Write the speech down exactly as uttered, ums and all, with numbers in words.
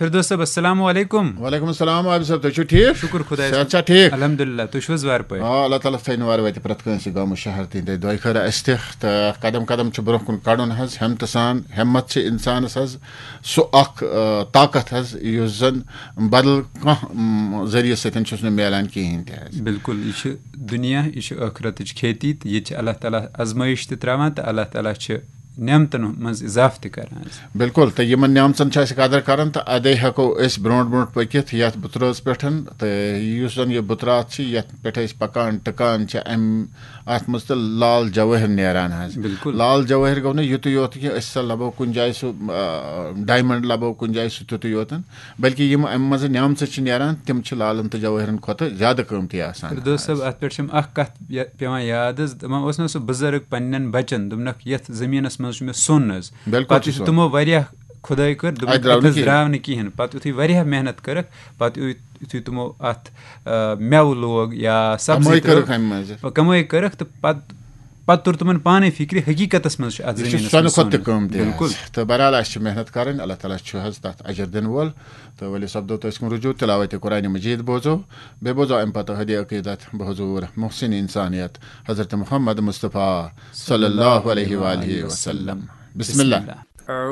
فردوس صٲب، السلام علیکم۔ وعلیکم السلام عابد صٲب، تُہۍ چھِو ٹھیٖک؟ شُکُر خۄدایَس صحت کُن۔ چھا ٹھیٖک؟ الحمدللہ، تُہۍ چھِو حظ وارٕ پٲٹھۍ؟ آ، اللہ تعالیٰ تھٲینو وارٕ وٲتِتھ پرٛٮ۪تھ کٲنٛسہِ گامہٕ شہر تہِ، تہٕ دۄیہِ خٲرا اَسہِ تہِ۔ تہٕ قدم قدم چھُ برونٛہہ کُن کَڑُن حظ، ہمتہٕ سان۔ ہمت چھِ اِنسانَس حظ سُہ اَکھ، آ، طاقت حظ، یُس زَن بدل کانٛہہ، م، ذٔریعہٕ سۭتۍ چھُس نہٕ میلان کِہیٖنۍ تہِ حظ۔ بِلکُل، یہِ چھِ دُنیا، یہِ چھِ ٲخرتٕچ کھیتی، تہٕ ییٚتہِ چھِ اللہ تعالیٰ آزمٲیِش تہِ ترٛاوان، تہٕ اللہ تعالیٰ چھِ نعمتن منٛز اضافہٕ تہِ کران حظ۔ بِلکُل، تہٕ یِمن نعمژن چھِ اَسہِ قدر کران، تہٕ اَدے ہٮ۪کو أسۍ برونٛٹھ برونٛٹھ پٔکِتھ یَتھ بُترٲژ پٮ۪ٹھ۔ تہٕ یُس زَن یہِ بُترات چھِ، یَتھ پٮ۪ٹھ أسۍ پَکان ٹِکان چھِ، اَمہِ اَتھ منٛز تہٕ لال جوٲہِر نیران حظ۔ بِلکُل۔ لال جوٲہِر گوٚو نہٕ یُتُے یوت کہِ أسۍ سا لَبو کُنہِ جایہِ سُہ، آ، ڈایمنڈ لَبو کُنہِ جایہِ سُہ تیُتُے یوتن، بلکہِ یِم اَمہِ منٛزٕ نعمژٕ چھِ نیران، تِم چھِ لالن تہٕ جوٲہرن کھۄتہٕ زیادٕ قۭمتی آسان فردوس حظ۔ صٲب، اَتھ پٮ۪ٹھ چھِ یِم اَکھ کَتھ یا-، پٮ۪وان یاد حظ، دَپان اوس نہ سُہ بُزرگ پنٛنٮ۪ن بَچَن، دوٚپنَکھ، "یَتھ زٔمیٖنَس منٛز چھُ مےٚ سۄن حظ۔" بِلکُل پَتہٕ چھُ یُتھُے سۄن۔ تِمو واریاہ کھُدٲے کٔر، دوٚپُن، اَتہِ درٛاو نہٕ "اَتہِ حظ کِہیٖنۍ۔ درٛاو نہٕ کِہیٖنۍ۔" پَتہٕ یُتھُے واریاہ محنت کٔرٕکھ، پَتہٕ یُتھ-، یُتھُے تِمو اَتھ، آ، مٮ۪وٕ لوگ یا سبزی کمٲے ترٲو، کٔرٕکھ اَمہِ منٛزٕ۔ کمٲے کٔرٕکھ، تہٕ پَتہٕ، پَتہٕ توٚر تِمَن پانَے فِکرِ، حقیٖقتَس منٛز چھُ اَتھ یہِ چھُ زٔمیٖنَس سۄنہٕ منٛز کھۄتہٕ تہِ سۄن۔ قۭمتی حظ۔ بِلکُل۔ تہٕ بہرحال، اَسہِ چھِ محنت کَرٕنۍ، اللہ تعالیٰ چھُ حظ تَتھ اجر دِنہٕ وول۔ تہٕ ؤلِو سپدو تہٕ أسۍ کُن رجوع، تلاوت قرآن مجید بوزو، بیٚیہِ بوزو اَمہِ پَتہٕ ہدی عقیدت بحضور محسن انسانیت حضرت محمد مصطفیٰ صلی اللہ علیہ وآلہ وسلم۔ بسم اللہ۔